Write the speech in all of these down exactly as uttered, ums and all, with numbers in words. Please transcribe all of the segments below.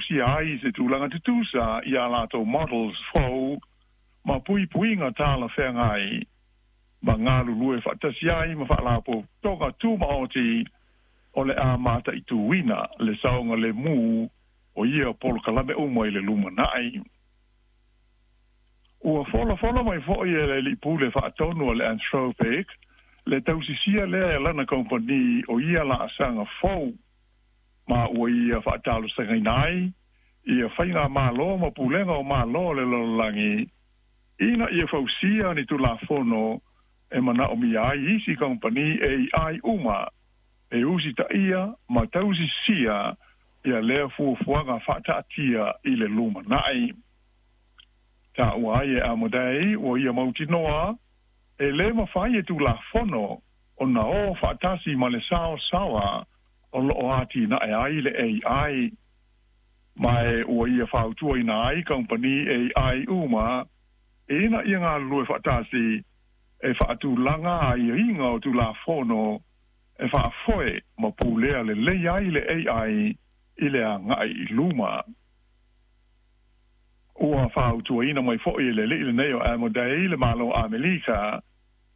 fausia ai se tulaga tutusa i a latou models fou ma puipuiga talafeagai ma galulue faatasi ai ma faalapotopotoga tumaoti o le a mataituina le saogalemu o ia polokalame uma i le lumanai. Ua folafola mai foʻi e le alii pule faatonu a le Anthropic le tausisia lea e lana kamupani o ia laasaga fou ma ua ia faatalosagaina ai ia faigamālō ma pulega o mālō o le lalolagi ina ia fausia ni tulafono e manaomia ai isi kamupani A I uma e usitaia ma tausisia ia lea fuafuaga faataatia i le lumanai. Taua ai e Amodei ua ia mautinoa e lē mafai e tulafono ona o faatasi ma le saosaoa o loo atinae ai le A I ma e ua ia fautuaina ai kamupani A I uma ina ia galulue faatasi e faatulaga aiaiga o tulafono e faafoe ma pulea lelei ai le A I i le agai i luma. Ua fautuaina mai foʻi e le alii lenei o Amodei le Mālō Amelika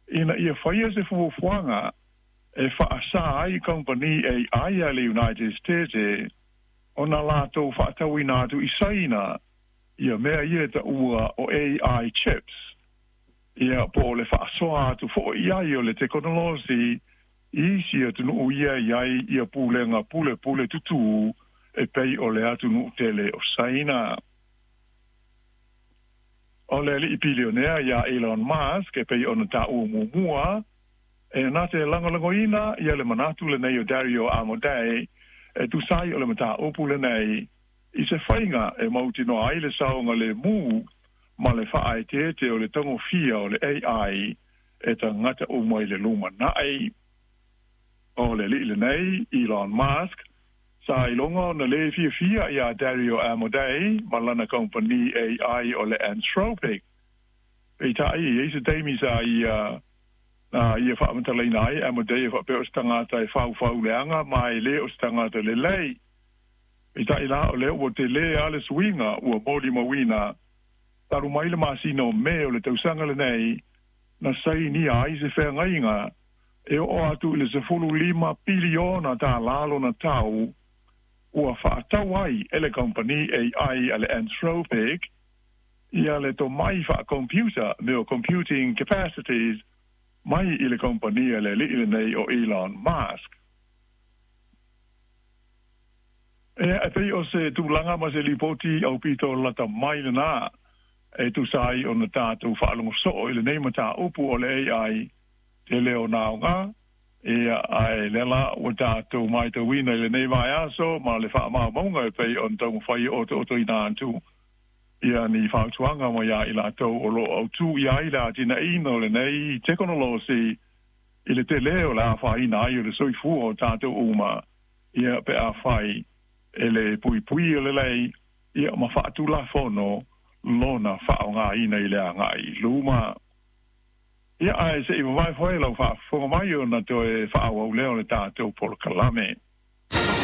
ina ia faia se fuafuaga e faasā ai kamupani A I a le United States ona latou faatauina atu i Saina ia mea ia taua o A I chips ia po o le faasoa atu foʻi i ai o le tekonolosi i isi atunuu ia i ai ia pulega pulepule tutū e pei o le atunuu tele o Saina. O le alii pilionea ia Elon Musk e pei ona taua muamua e na te lagolagoina ia le manatu lenei o Dario Amodei e tusa ai o le mataupu lenei i se faiga e mautinoa ai le saogalemu ma le faaeteete o le tagofia o le A I e tagata uma i le lumanai. O le alii lenei Elon Musk sa iloga ona lē fiafia iā Dario Amodei ma lana kamupani A I o le Anthropic. Peitai e i se taimi sa ia na ia faamatalaina ai Amodei e faapea o se tagata e faufauleaga ma e lē o se tagata lelei. Peitai la o lea ua telē a le suiga ua molimauina talu mai le masina o Me o le tausaga lenei na sainia ai se feagaiga e oo atu i le sefulu lima piliona tālā lona tau ua faatau ai e le kamupani A I a le Anthropic ia le tomai faacomputer me o computing capacities mai i le kamupani a le alii lenei o Elon Musk. E e pei o se tulaga ma se lipoti aupito lata mai lenā e tusa ai ona tatou faalogo soo i lenei mataupu o le A I tele o naoga ia ae lea la ua tatou matauina i lenei vaiaso ma le faamaumauga e pei ona taumafai e otootoina atu ia ni fautuaga mai ia i latou o loo autū i ai le atinaeina o lenei tekonolosi i le telē o le afaina ai o le soifua o tatou uma ia pe afai e le puipui o lelei ia ma faatulafono lona faaaogāina i le agai i luma. Ia ae se i vavae foe lau faafofoga mai ona toe faaauau lea o le tatou polokalame.